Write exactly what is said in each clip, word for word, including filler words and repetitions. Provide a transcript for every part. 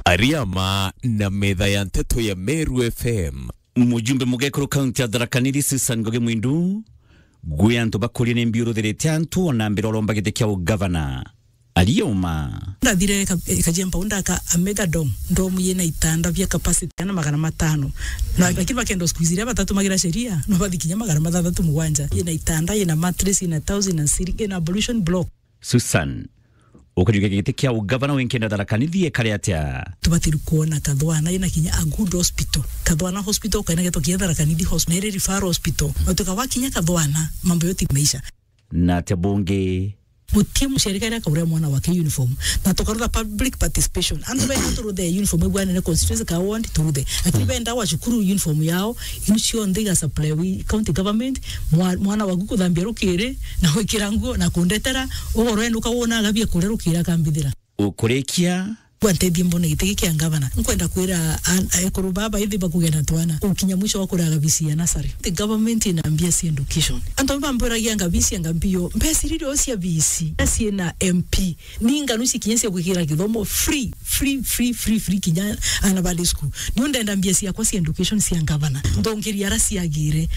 Ariama na metha ya nteto ya Meru F M. Mujumbe mugekuru kaunti ya Tharaka Nithi Susan Ngugi Mwindu, gwi antu bakuria ni mbiuruthirite antu ona mbere uromba giti kia ugavana. Ariuma. Ndathire ka-, Kajiemba unda ka a mega dome. Dome yina itanda bia capacity ana magana matano. Na lakini bakenda squeeze iria batatu magira sheria, no bathi kinya magana mathathatu mugwanja. Yina itanda, yina mattress, yina towels, yina ceiling, yina ablution block. Susan, ukajukia giti kia ugavana winkenda Tharaka Nithi ekare atia? Tubatiri kuona Kathwana ina kinya a good hospital. Kathwana hospital ukaina geto kia Tharaka Nithi hospital, na iri referral hospital. Na tukawa kinya Kathwana, mambo yote imeisha. Na atia bungi? Guti muciari karia akauria mwana wake uniform. Na tukarutha public participation. Antu benda turuthe uniform ibwanene constituency ka ward turuthe. Lakini benda wa cukuru uniform yao, inu cionthe iga supply wi county government, mwa-, mwana waku kuthambia rukiri, na gwikira nguo, na kundetera, ugoro enu ukawona agabia kuria rukiri akambithira. Ukurikia? Bwa ntethie mbone giti giki kia ngavana. Nkwenda kwira an-, ekuru baba ithi bakugena twana. Ukinya mwisho wa kuraga bisi ya nasari. The government ina mbia cia education. Antu bamburagia ngabisi ya ngambio. Mbesi riri o cia bisi. Asie na M P. Ni nganu ici kinya cia gwikira githomo free, free, free, free, free kinya ana valley school. Niu ndenda mbia ciakwa cia education cia ngavana. Ndongeria ara ciagire.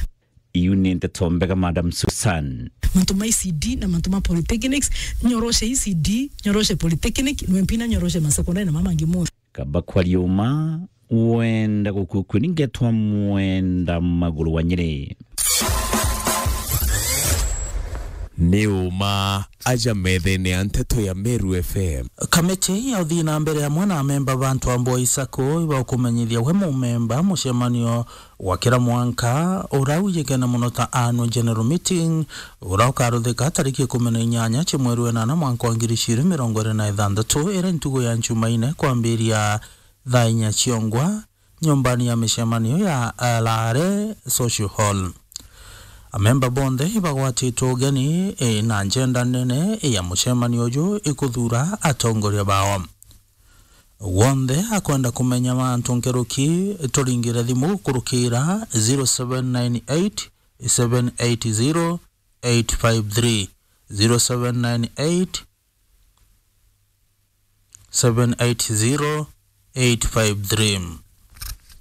Iu ni nteto mbega, Madam Susan. Mantu ma E C D na mantu ma polytechnics, nyoroshe E C D, nyoroshe polytechnic, no M P na nyoroshe ma secondary na mamangi monthe. Kaba kwaria uma, wenda gukukuni ngetwa Mwenda Maguru wa Nyeri. Ni uma aja methene ya nteto ya Meru F M. Kamiti ya uthii na mbere amwe na amemba ba antu a Mboi Sacco ibaukumenyithia we mumemba mucemanio wa kira mwanka, ura wijikene mono ta annual general meeting, ura ukaruthika tariki ikumi na inyanya cia mweri wa inana mwanka wa ngiri ijiri mirongo iri na ithanthatu, iri ntugu ya Njumaine kwambiria thaa inya ciongwa, nyumbani ya micemanio ya Alare Social Hall. Amemba bonthe ibagwatitwe ugeni, e, na njenda nene ya mucemanio uju ikuthuura atongoria bao. Wonthe akwenda kumenya mantu nkuruki, turingire thimu kurukira zero seven nine eight, seven eight zero, eight five three, zero seven nine eight, seven eight zero, eight five three.